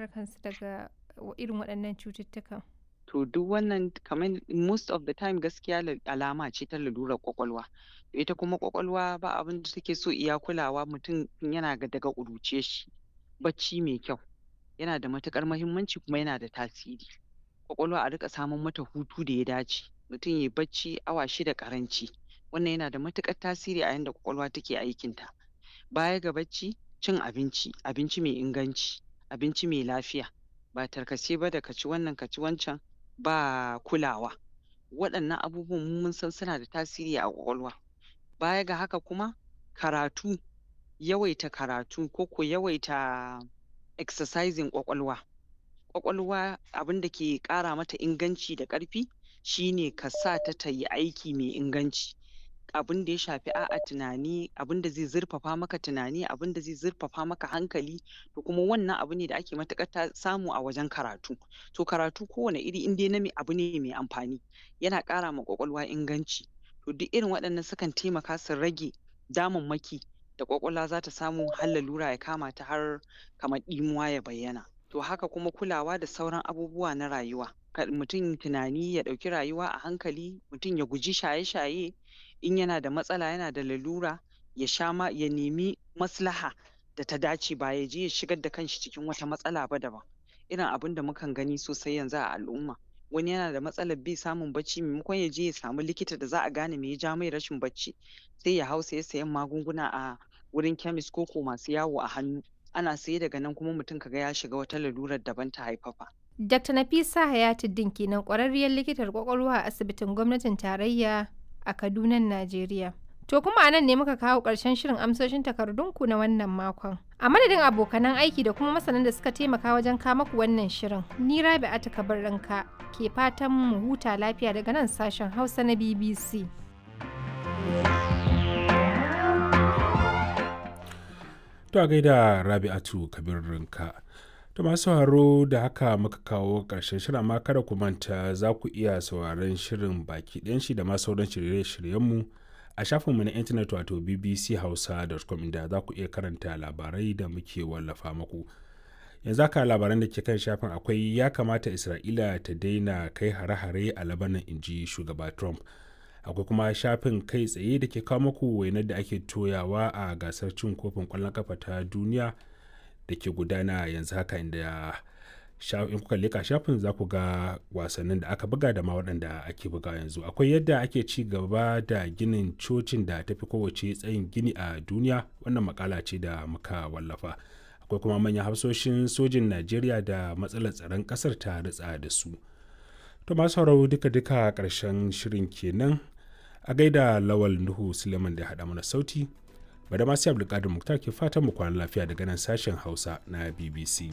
kare kansu daga irin waɗannan cututtukan? To duk wannan kamar most of the time gaskiya alama ce ta lalurar ƙwaƙwalwa. Ita kuma ƙwaƙwalwa ba abin da take so iya kulawa mutum yana daga ƙuruciyar shi. Bacci mai kyau yana da matuƙar muhimmanci kuma yana da tasiri. Ƙwaƙwalwa a riƙa samar mata hutu da ya dace. Mutum yayi bacci awa 6 ƙaranci. Wannan yana da matuƙar tasiri a yanda ƙwaƙwalwa take aikinta. Baya ga bacci, cin abinci, abinci mai inganci, abinci mai lafiya. Ba tarkace ba da ka ci wannan ka ci wancan ba kulawa. Waɗannan abubuwan mu mun san suna da tasiri a ƙwaƙwalwa. Baya ga haka kuma karatu, yawaita karatu ko ko yawaita exercising ƙwaƙwalwa. Ƙwaƙwalwa abin da ke ƙara mata inganci da ƙarfi shine ka sa ta ta yi aiki mai inganci. Abin da ya shafi a'a tunani, abin da zai zurfafa maka tunani, abin da zai zurfafa maka hankali, to kuma wannan abu ne da ake matuƙar samu a wajen karatu. To karatu kowane iri in dai na abu ne mai amfani, yana ƙara ma ƙwaƙwalwa inganci. To duk irin waɗannan sukan taimaka su rage damammaki da ƙwaƙwalwa za ta samu har lalura ya kama ta har kamar ɗimuwa ya bayyana. To haka kuma kulawa da sauran abubuwa na rayuwa. Kar mutum tunani ya ɗauki rayuwa a hankali, mutum ya guji shaye-shaye, in yana da matsala yana da lalura ya sha ma ya nemi maslaha da ta dace ba ya je ya shigar da kanshi cikin wata matsala ba daban. Irin abin da mukan gani sosai yanzu a al'umma. Wani yana da matsalar bai samun bacci maimakon ya je ya samu likita da za a gane me ya ja mai rashin bacci, sai ya hau saye-sayen magunguna a wurin chemist ko ko masu yawo a hannu. Ana saye daga nan kuma mutum ka ga ya shiga wata lalurar daban ta haifafa. Dr. Nafisa Hayatuddin kenan ƙwararriyar likitar ƙwaƙwalwa a asibitin gwamnatin tarayya a Kadunan Najeriya. To kuma a nan ne muka kawo ƙarshen shirin amsoshin takardunku na wannan makon. A madadin abokanan aiki da kuma masanan da suka taimaka wajen kama ku wannan shirin, ni Rabi'atu Kabirranka ke fatan mu huta lafiya daga nan sashen Hausa na BBC. To a gaida Rabi'atu Kabirranka. To masu sauraro da haka muka kawo ƙarshen shirin amma kada ku manta za ku iya sauraron shirin baki ɗayan shi da ma sauran shirye-shiryenmu a shafinmu na intanet wato bbchausa.com inda za ku iya karanta labarai da muke wallafa muku. Yanzu haka labaran da ke kan shafin akwai ya kamata Isra'ila ta daina kai hare-hare a Labanan inji shugaba Trump. Akwai kuma shafin kai tsaye da ke kawo muku wainar da ake toyawa a gasar cin kofin ƙwallon kafa ta duniya da ke gudana yanzu haka inda in kuka leka shafin za ku ga wasannin da aka buga da ma waɗanda ake buga yanzu. Akwai yadda ake ci gaba da ginin cocin da tafi kowace tsayin gini a duniya, wannan makala ce da muka wallafa. Akwai kuma manyan hafsoshin sojin Najeriya da matsalar tsaron ƙasar ta ritsa da su. To masu sauraro duka-duka ƙarshen shirin kenan. A gaida Lawal Nuhu Suleiman da ya haɗa mana sauti. Bada masu Abdulkadir Muktar ke fatan mu kwana lafiya daga nan sashen Hausa na BBC.